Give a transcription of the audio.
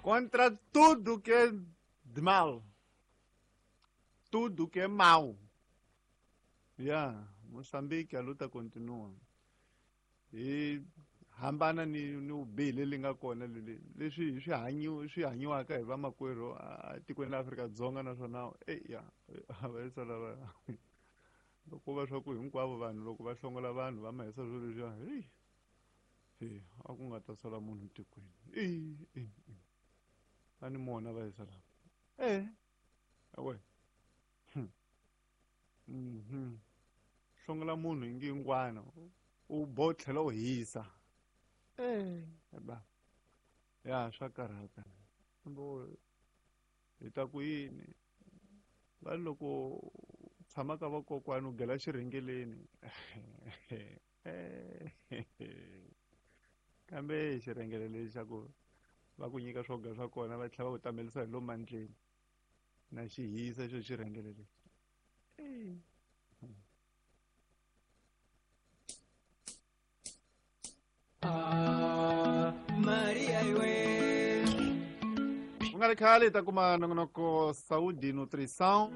Contra tudo que é de mal. Tudo que é mal. Ya, Moçambique, a luta continua. Hi hambana ni vubihi leli nga kona leli leswi swi hanyiwa swi hanyiwaka hi vamakwerhu etikweni ra Afrika-Dzonga, naswona eya va lava loko va swa ku hinkwavo vanhu loko va hlongola vanhu va ma hisa swilo leswiya, heyi he, a ku nga ta sala munhu tikweni. Va ni mona va hisa lava e awe. Hlongola munhu hi ngingwana u bo tlhela u hisa ba ya swa karhata. Hi ta ku yini va loko tshama ka vakokwani u gela xirhengeleni, kambe xirhengele lexi xa ku va ku nyika swo dya swa kona va tlhela va ku tamelisa hi lomu mandleni na xi hisa xo xirhengele lexi. Maria iwe. Ku nga ri khale hi ta kuma nongonoko Saúde e Nutrição.